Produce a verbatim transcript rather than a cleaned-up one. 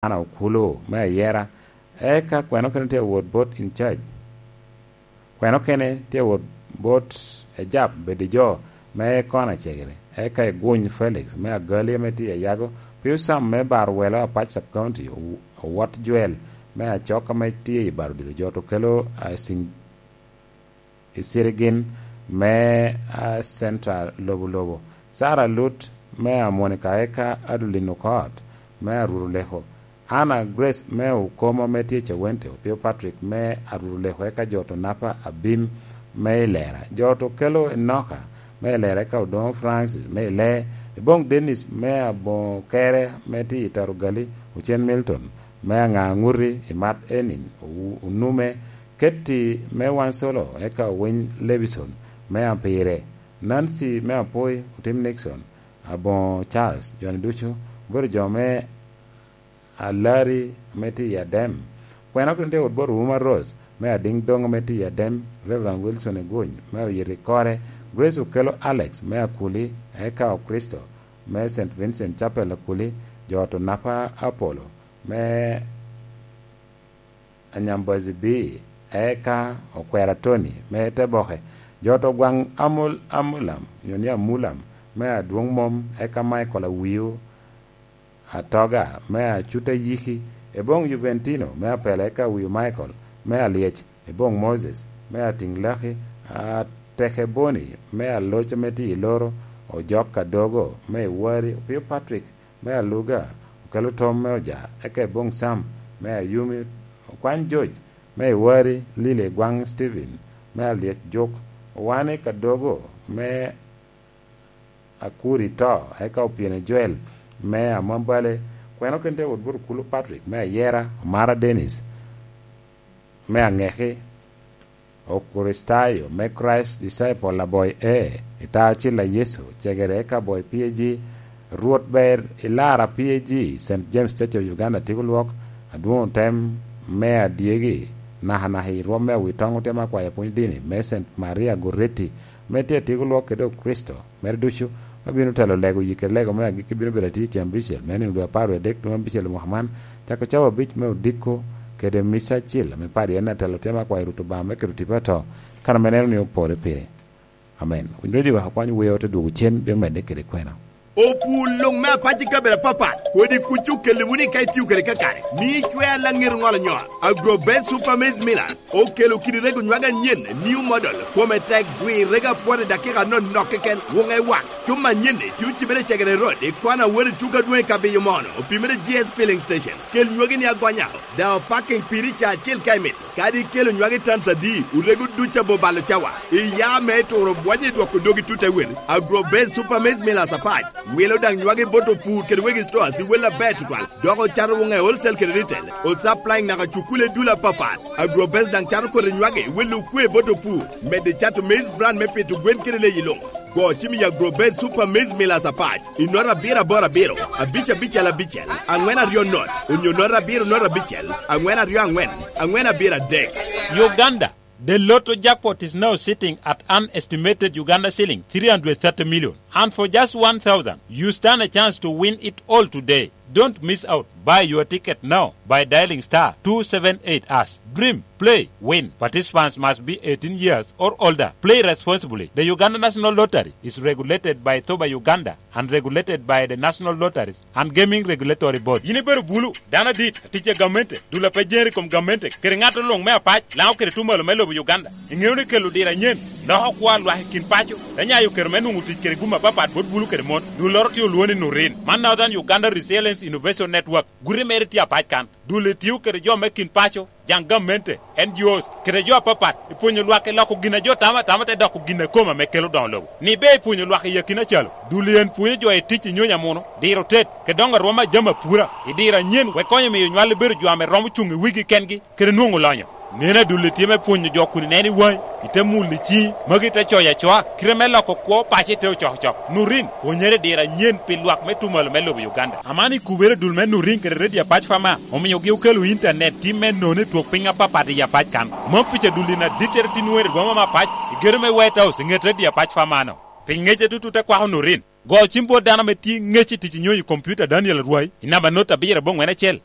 Ana Okulu me Ayera, eka kweno kene tye awot bot in charge? Kweno kene tye awot bot ejap bedi jo me kona cegere, eka iguny Felix me Agali ame tye i Ayago, Pius Sam me Bar Welo Apac Sub County, Owot Joel me Acok ame tye i Bar Odilo, jo to kelo Asing i Sirigin me, a, Central Lobo Lobo, Sarah Lut me Amonika, eka Adeline Okot me Aruru Leko, Anna Grace me Okomo ame tye i Cawente, Opio Patrick me Aruru Leko, eka jo to Napa Abim me Ilera, jo to kelo Enoka me Ilera, eka Odoŋo Francis me Ile, Ebong Dennis me Aboŋo Kere ame tye i Tarugali, Ocen Milton me Aŋa Aŋuti i Mat Enin, Owu-, Onume, Ketti me Wansolo, eka Owiny Levison me Apire, Nancy me Apoi, Otim Nixon, Aboŋo Charles, jo-ni ducu obedo jo me Alari ame tye i Adem. Kwena kede tye wot bot Ouma Rose me Adiŋ Doŋ ame tye i Adem, Reverend Wilson Eguny me Oyito i Kore, Grace Okelo Alex me Akuli, eka Okricito me Saint Vincent Chapel Akuli, jo ot Onapa Apollo me Anyambazi B, eka Okwera Tony me Teboke, jo to gwaŋ Amul-, Amulam, nyo ni Amulam, me Adwoŋ Mom, eka Michael Awiu Atoga, me Acuta Yiki, Eboŋ Juventino, me Apela, eka Awiu Michael, me Alyec, Eboŋ Moses, me Atiŋ Laki, Atekeboni, me Aloc ame tye i Loro, Ojok Kadogo, me Iwari, Opio Patrick, me Aluga, Okelo Tom me Oja, eka Eboŋ Sam, me Ayumi, Okwany George, me Iwari, Lili Egwaŋ Stephen, me Alyec Juk, Owani Kadogo, me Akuri To, eka Opyene Joel, me Amambale, kweno kente wot bot Okulu Patrick, me Ayera, Omara Dennis, me Aŋeki, Okricitayo me Christ Disciple Aboy E, i ta acil a Yecu, cegere eka Aboy P A G, Rwot Ber i Lara P A G, Saint James Church of Uganda, Tigo Lwok, Adwoŋ Otem me Adyegi, nakanaka i rwom me Awitoŋo Otem Akwayo Pwony Dini, me Saint Maria Goretti, me tye Tigo Lwok kede Okricito, mere ducu, ma bino telo lego yi kede lego me agikki bino bedo atir cen abicel, me nino dwe apar wie adek dwe abicel i mwaka man, cako cawa abic me odiko kede mica acil ame padi en atelo tye me akwayo Rwot Obaŋa me keto tipo ato, kan ame neno ni opore pire. Amen. Winyo redio wek akwany wer ote dwogo cen, bino medde kede kwena. Opur luŋ me apac i kabedo apapat, kodi kuc okelli wunu i ka itio kede kakare, mi icwe alaŋir ŋolo nyol. Agrobet Super Maize Millers okelo kidi rego nywage anyen, new model, kome tek, gwir rego apwot i dakika anonok keken, wuŋe wak. Cuma anyen-ni tye ocibere i Cegere Road, i kona wot i tuko adwoŋ i Kabiyo Mono, opimere G S Filling Station. Kel nywagi-ni agonya, daŋ opaking piri ca acel ka imito. Kadi ikelo nywagi tans adi, orego duc abo balo cawa. Iya me turo bwonyo i dwoko dogi tut ewel. Agrobase Super Maize Millers apac. Wilo daŋ nywagi bot opur kede wegi stores i wel aber tutwal. Dok ocato wuŋe wholesale kede retail. O supplying naka cukule dul apapat. Agrobase daŋ cato kodi nywagi i wel okwe bot opur. Medde cato maize bran me pito gwen kede leyi luŋ. Go cim i Agrobase Super Maize Millers apac i nota abiro aboro abiro, abic abicel abicel, aŋwen aryo not, onyo nota abiro nota abicel, aŋwen aryo aŋwen, aŋwen abiro adek. Uganda, the lotto jackpot is now sitting at an estimated Uganda shilling three hundred thirty million. And for just one thousand, you stand a chance to win it all today. Don't miss out. Buy your ticket now by dialing star two seven eight hash. Dream, play, win. Participants must be eighteen years or older. Play responsibly. The Uganda National Lottery is regulated by Thoba Uganda and regulated by the National Lotteries and Gaming Regulatory Board. Yin ibedo bulu, dano adit, atic a gamente, dul a pe jere i kom gamente, kede ŋat oluŋ me apac, Laŋo kede tuŋ malo me lobo Uganda. Iŋeo ni kelo diro anyen loko kwo a lwak i kin paco, te nyayo kero me nwoŋo tic kede gum apapat bot bulu kede mon. Dulloro tye olwoŋo ni Nurin. Man Northern Uganda Resilience Innovation Network. Guti mere tye apac kan. Dul etio kede jo me kin paco, jaŋ gamente, N G Os, kede jo apapat, i pwonyo lwak i loko gin a jo tamo atama te doko gin a kome ame kelo doŋo lobo. Ni be i pwonyo lwak i akina calo, dul en pwonyo jo i tic i nyony amuno, diro tet, kede doŋo arwom a jami apura, i diro anyen, wek konyo miyo nywal bedo jo ame romo cuŋ i wigi kengi, kede nwoŋo lonyo. Nen adulli tye me pwonyo jo kun ineno i waŋi, ite mulo i ciŋi, magi ite coyo acoa, kite me loko kwo paco ite ocokocok. Nurin, pwonyere i diro anyen pi lwak me tuŋ malo me lobo Uganda. Aman i kubere dul me Nurin kede Radio Apac Fama, omiogi okelo intanet tim me nono i twok piny apapat i Apac kan. Mom pica dulli na dittere tin wer i rwoma me Apac, i gedo me White House i ŋet Radio Apac Fama-no. Pi ŋece tutu te kwako Nurin. Go cim bot dano ame tye ŋec i tic i nyonyo i kompiuta Daniel Arwai i namba not abiro aboŋwen acel.